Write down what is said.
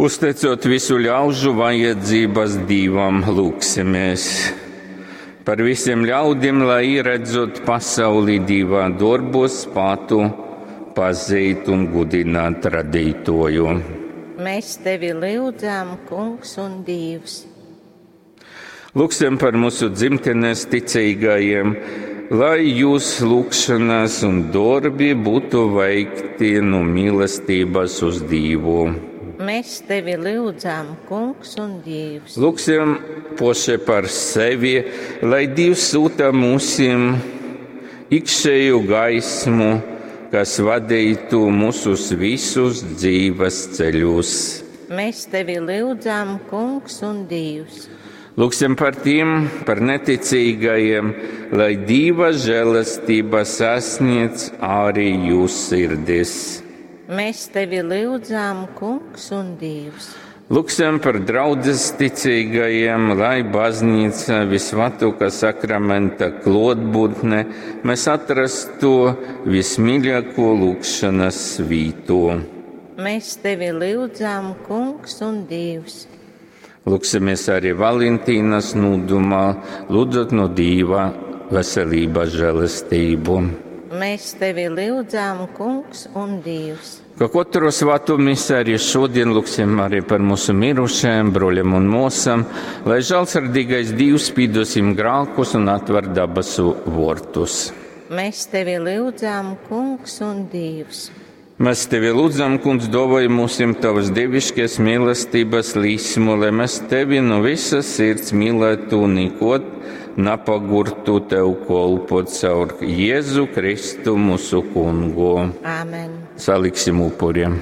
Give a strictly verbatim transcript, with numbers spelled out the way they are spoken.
Uzteicot visu ļaužu vajadzības Dīvam, lūksimies par visiem ļaudim, lai ieredzot pasauli Dīvā dorbos spātu pazīt un gudināt radītoju. Mēs tevi lyudzam, Kungs un Dievs. Lūksim par mūsu dzimtenes ticīgajiem, lai jūs lūgšanas un darbi būtu veikti no mīlestības uz Dievu. Mēs tevi lyudzam, Kungs un Dievs. Lūksim poši par sevi, lai Dievs sūta mūsim iekšēju gaismu, kas vadītu mūsus visus dzīves ceļus. Mēs tevi lyudzam, Kungs un Dievs. Lūksim par tiem, par neticīgajiem, lai Dieva žēlastība sasniedz arī jūsu sirdis. Mēs tevi lyudzam, Kungs un Dievs. Lūksim par draudzes ticīgajiem, lai baznīca visvētākā sakramenta klotbūtne mēs atrastu vismīļāko lūgšanas vītu. Mēs tevi lyudzam, Kungs un Dievs. Lūksimies arī Valentīnas nūdumā, lūdzot no Dīva veselības žēlastību. Mēs tevi lyudzam, Kungs un Dievs. Ka katru svēto misi arī šodien lūksim arī par mūsu mirušajiem broļiem un mosam, lai žēlsirdīgais Dievs piedosim grēkus un atver dabasu vortus. Mēs tevi lyudzam, Kungs un Dievs. Mēs tevi lūdzam, Kungs, dāvāj mums tavas dievišķās mīlestības līsmu, lai mēs tevi no visas sirds mīlētu un nekot napagurtu tev kolpot caur Jēzu Kristu mūsu kungu. Āmen. Saliksim upuriem.